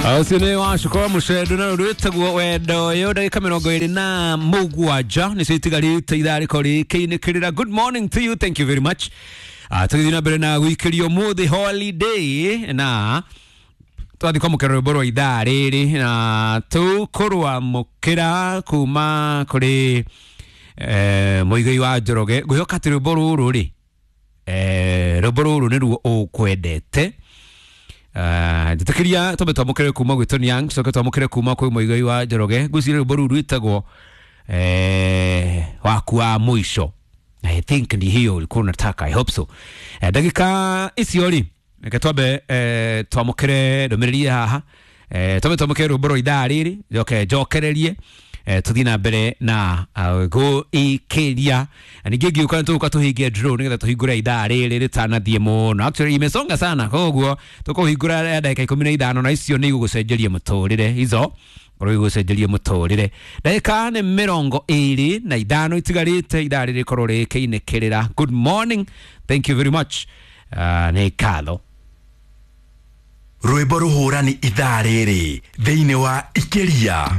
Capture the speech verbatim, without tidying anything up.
Ũcio nĩ wacukwa mũcendo na rwĩtagwo wendo ũyũ. Ndagĩka mĩrongo ĩrĩ na mũgwanja nĩcio itigarĩte ithaa rĩko rĩkĩinĩkĩrĩra. Good morning to you, thank you very much. uh, tũgĩthiĩ na mbere na gũikĩrio ũmũthĩ holiday na twathiĩ kwamũkĩra rwĩmbo rwa ithaa rĩrĩ na tũkũrwamũkĩra kuma kũrĩ eh, Mũigai wa Njoroge. Ngwĩhoka atĩ rwĩmbo rũrũ rĩ, eh, rwĩmbo rũrũ nĩruo ũkwendete. Njĩtĩkĩria twambe twamũkĩre kuma gwĩ Tony Young, tucoke twamũkĩre kuma kwĩ Mũigai wa Njoroge. Ngwĩciria rwĩmbo rũu rwĩtagwo eh, waku wa mũico. I think ni hiyo ulikuwa unataka, I hope so. Eh, ndagĩka icio rĩ, reke twambe eh, twamũkĩre ndũmĩrĩri haha, eh, twambe twamũkĩre rwĩmbo rwa ithaa rĩrĩ, njoke njokererie, eh, tuthiĩ na mbere na uh, gũikĩria. Na ningĩ ngĩũka nĩ tũgũka tũhingie draw nĩgetha tũhingũre ithaa rĩrĩ rĩtanathiĩ mũno. Actually imesonga sana, koguo tũkũhingũra ya ndagĩka ikũmi na ithano na icio nĩ igũgũcenjeria mũtũrĩre, izo korwo igũcenjeria mũtũrĩre. Ndagĩka nĩ mĩrongo ĩrĩ na ithano itigarĩte ithaa rĩrĩ rĩkorwo rĩkĩinĩkĩrĩra. Good morning, thank you very much. uh, nĩ ngatho. Rwĩmbo rũhũrani ithaa rĩrĩ thĩinĩ wa Ikĩria.